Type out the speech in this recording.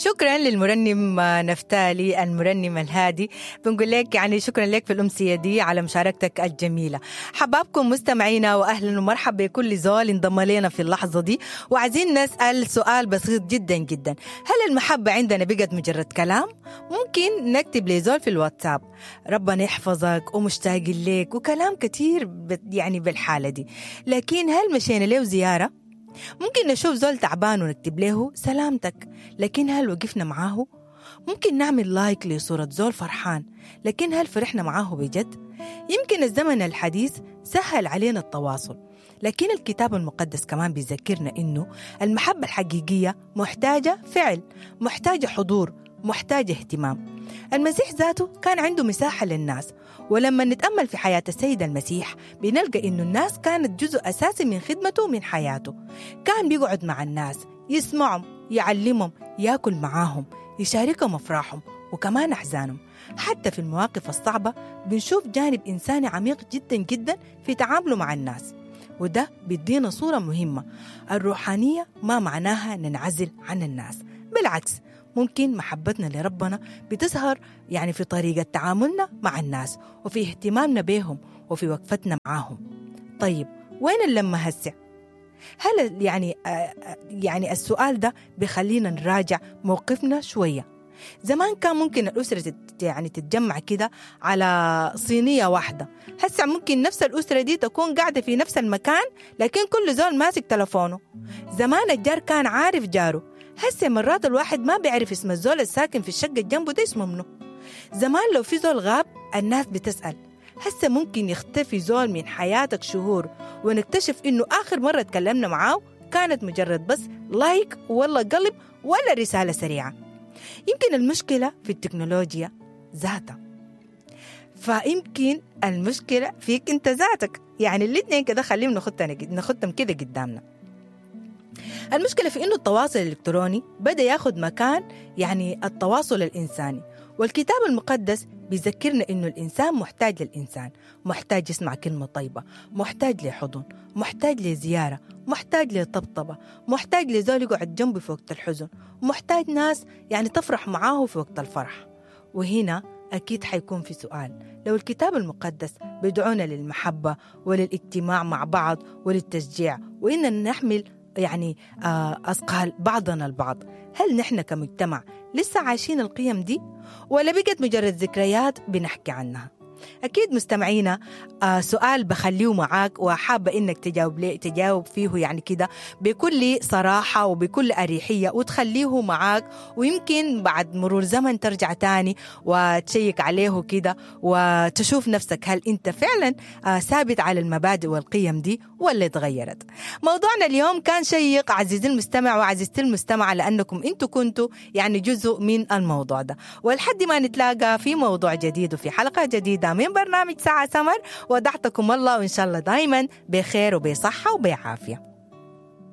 شكرا للمرنم نفتالي المرنم الهادي، بنقول لك يعني شكرا لك في الأمسية دي على مشاركتك الجميلة. حبابكم مستمعينا، وأهلا ومرحبا بكل زول انضم لنا في اللحظة دي. وعايزين نسأل سؤال بسيط جدا جدا: هل المحبة عندنا بقت مجرد كلام؟ ممكن نكتب لزول في الواتساب ربنا يحفظك ومشتاق لك وكلام كتير يعني بالحالة دي، لكن هل مشينا له زيارة؟ ممكن نشوف زول تعبان ونكتب له سلامتك، لكن هل وقفنا معاه؟ ممكن نعمل like لصورة زول فرحان، لكن هل فرحنا معاه بجد؟ يمكن الزمن الحديث سهل علينا التواصل، لكن الكتاب المقدس كمان بيذكرنا إنه المحبة الحقيقية محتاجة فعل، محتاجة حضور، محتاجة اهتمام. المسيح ذاته كان عنده مساحة للناس، ولما نتأمل في حياة السيد المسيح بنلقى إنه الناس كانت جزء أساسي من خدمته ومن حياته. كان بيقعد مع الناس، يسمعهم، يعلمهم، يأكل معاهم، يشاركهم أفراحهم وكمان أحزانهم. حتى في المواقف الصعبة بنشوف جانب إنساني عميق جدا جدا في تعامله مع الناس، وده بيدينا صورة مهمة. الروحانية ما معناها ننعزل عن الناس، بالعكس ممكن محبتنا لربنا بتظهر يعني في طريقة تعاملنا مع الناس وفي اهتمامنا بهم وفي وقفتنا معاهم. طيب وين اللمة هسه؟ هل يعني السؤال ده بيخلينا نراجع موقفنا شوية. زمان كان ممكن الأسرة يعني تتجمع كده على صينية واحدة، هسه ممكن نفس الأسرة دي تكون قاعدة في نفس المكان لكن كل زول ماسك تلفونه. زمان الجار كان عارف جاره، هسه مرات الواحد ما بيعرف اسم الزول الساكن في الشقة جنبه ده اسمه منه. زمان لو في زول غاب الناس بتسأل، هسه ممكن يختفي زول من حياتك شهور ونكتشف إنه آخر مرة تكلمنا معاه كانت مجرد بس like ولا قلب ولا رسالة سريعة. يمكن المشكلة في التكنولوجيا ذاتها، فيمكن المشكلة فيك انت ذاتك، يعني الاثنين كده خليهم نخطهم كده قدامنا. المشكلة في إنه التواصل الإلكتروني بدأ ياخد مكان يعني التواصل الإنساني، والكتاب المقدس بيذكرنا إنه الإنسان محتاج للإنسان، محتاج يسمع كلمة طيبة، محتاج لحضن، محتاج لزيارة، محتاج لطبطبة، محتاج لزول يقعد جنبه في وقت الحزن، محتاج ناس يعني تفرح معاه في وقت الفرح. وهنا أكيد حيكون في سؤال: لو الكتاب المقدس بيدعونا للمحبة وللاجتماع مع بعض وللتشجيع وإننا نحمل يعني أثقال بعضنا البعض، هل نحن كمجتمع لسه عايشين القيم دي ولا بقت مجرد ذكريات بنحكي عنها؟ أكيد مستمعينا سؤال بخليه معاك وحابة إنك تجاوب فيه يعني كده بكل صراحة وبكل أريحية وتخليه معاك، ويمكن بعد مرور زمن ترجع تاني وتشيك عليه كده وتشوف نفسك هل أنت فعلا ثابت على المبادئ والقيم دي ولا تغيرت. موضوعنا اليوم كان شيق عزيزي المستمع وعزيزتي المستمعة، لأنكم أنتوا كنتوا يعني جزء من الموضوع ده. ولحد ما نتلاقى في موضوع جديد وفي حلقة جديدة من برنامج ساعة سمر، ودعتكم الله وإن شاء الله دايما بخير وبصحة وبعافية.